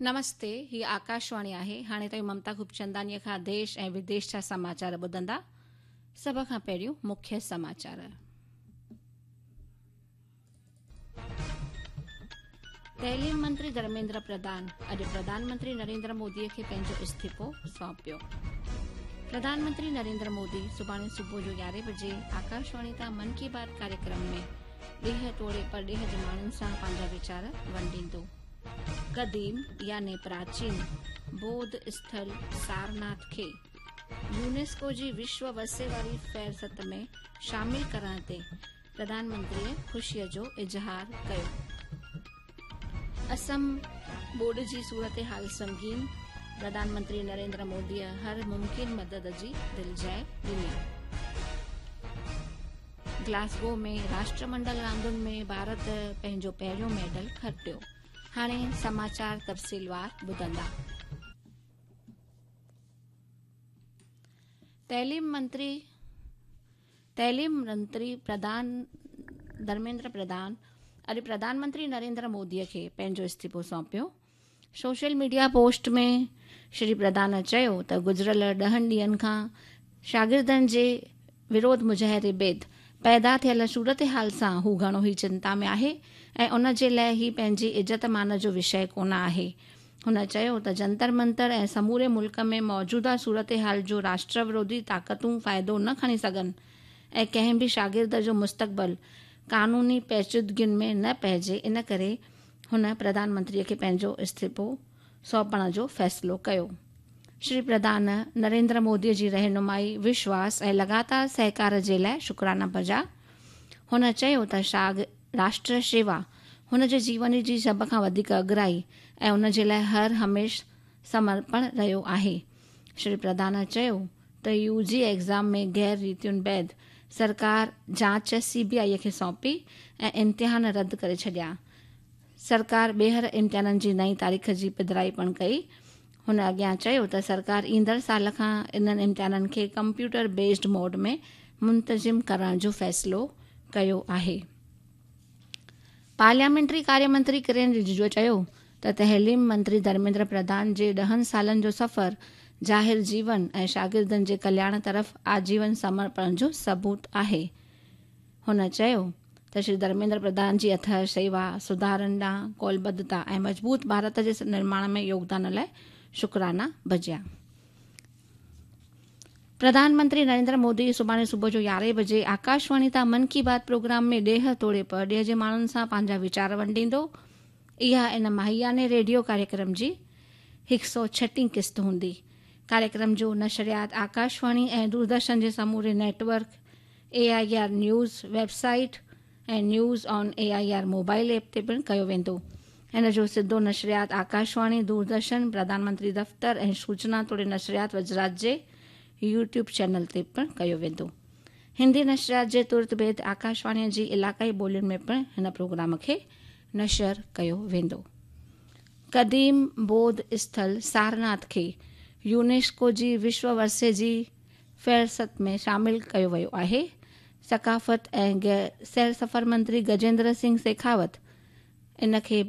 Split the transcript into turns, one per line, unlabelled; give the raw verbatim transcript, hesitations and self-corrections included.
नमस्ते, ही आकाशवाणी आहे। हाणे तव्हीं ममता खूबचंदानीअ खां देश ऐं विदेश जा समाचार ॿुधंदा। सभ खां पहिरियों मुख्य समाचार। तइलीम मंत्री धर्मेंद्र प्रधान अॼु प्रधानमंत्री नरेंद्र मोदीअ खे पंहिंजो इस्तीफ़ो सौंपियो। प्रधानमंत्री नरेंद्र मोदी सुभाणे सुबुह जो यारहें बजे आकाशवाणी तां मन की बात कार्यक्रम में ॾेह तोड़े परॾेह जे माण्हुनि सां पंहिंजा वीचार वंडींदो। क़दीम यानी प्राचीन बौद्ध स्थल सारनाथ खे यूनेस्को जी विश्व वर्से वारी फ़हरिस्त में शामिल करण ते प्रधानमंत्रीअ ख़ुशीअ जो इज़हार कयो। असम ॿोॾ जी सूरत हाल संगीन, प्रधानमंत्री नरेंद्र मोदीअ हर मुमकिन मदद जी दिलजाइ ॾिनी। ग्लासगो में राष्ट्रमंडल रांदुनि में भारत पंहिंजो पहिरियों मेडल खटियो। हाणे समाचार तफ़सीलवार ॿुधंदा। तइलीम मंत्री तइलीम मंत्री प्रधान धर्मेंद्र प्रधान अॼु प्रधानमंत्री नरेंद्र मोदीअ खे पंहिंजो इस्तीफ़ो सौंपियो। सोशल मीडिया पोस्ट में श्री प्रधान चयो त गुज़िरियल ॾहनि ॾींहनि खां शागिर्दनि जे विरोध मुज़ाहिरे बाद पैदा थियल सूरत हाल सां हू घणो ई चिंता में आहे ऐं उन जे लाइ ही पंहिंजी इज़त मान जो विषय कोन आहे। हुन चयो त जंतर मंतर ऐं समूरे मुल्क में मौजूदा सूरत हाल जो राष्ट्र विरोधी ताक़तूं फ़ाइदो न खणी सघनि ऐं कंहिं बि शागिर्द जो मुस्तक़बिल कानूनी पेचीदगियुनि में न पइजे, इन करे हुन प्रधानमंत्रीअ खे पंहिंजो इस्तीफ़ो सौंपण जो फ़ैसिलो कयो। श्री प्रधान नरेंद्र मोदीअ जी रहनुमाई, विश्वास ऐं लगातार सहकार जे लाइ शुक्राना बजा। हुन चयो त शाग राष्ट्र शेवा हुन जे जीवन जी सभ खां वधीक अगराई ऐं उन जे लाइ हर हमेशह समर्पण रहियो आहे। श्री प्रधान चयो त you ji exam में गैर रीतियुनि बाद सरकार जांच सी बी I खे सौंपी ऐं इम्तिहान रद्द करे छॾिया। सरकार ॿीहर इम्तिहाननि जी नई तारीख़ जी पधराई पिणु कई। हुन अॻियां चयो त सरकार ईंदड़ साल खां इन्हनि इम्तिहाननि खे कंप्यूटर बेस्ड मोड में मुंतज़िम करण जो फ़ैसिलो कयो आहे। पार्लियामेंट्री कार्य मंत्री किरण रिजिजू चयो त तइलीम मंत्री धर्मेंद्र प्रधान जे ॾहनि सालनि जो सफ़र ज़ाहिर जीवन ऐं शागिर्दनि जे कल्याण तरफ़ आजीवन समर्पण जो सबूत आहे। हुन चयो त श्री धर्मेंद्र प्रधान जी अथह सेवा, सुधारनि ॾांहुं कौलबद्धता ऐं मज़बूत भारत जे निर्माण में योगदान लाइ शुक्राना बजिया। प्रधानमंत्री नरेंद्र मोदी सुभाणे सुबुह जो यारहें बजे आकाशवाणी तां मन की बात प्रोग्राम में ॾेह तोड़े परॾेह जे माण्हुनि सां पंहिंजा वीचार वंडींदो। इहा इन माहियाने रेडियो कार्यक्रम जी हिकु सौ छटीं क़िस्त हूंदी। कार्यक्रम जो नशरियात आकाशवाणी ऐं दूरदर्शन जे समूरे network, A I R news website ऐं news on A I R mobile app ते पिणु कयो वेंदो। इन जो सिधो नशरियात आकाशवाणी, दूरदर्शन, प्रधानमंत्री दफ़्तर ऐं सूचना तोड़े नशरियात वज़ारत जे यूट्यूब चैनल ते पिणु कयो वेंदो। हिंदी नशरियात जे तुरत बाद आकाशवाणीअ जी इलाइक़ाई ॿोलियुनि में पिणु हिन प्रोग्राम खे नशर कयो वेंदो। क़दीम बौद्ध स्थल सारनाथ खे यूनेस्को जी विश्व वर्से जी फ़हरिस्त में शामिल कयो वियो आहे। सक़ाफ़त ऐं सैर सफ़र मंत्री गजेंद्र सिंह शेखावत इन खे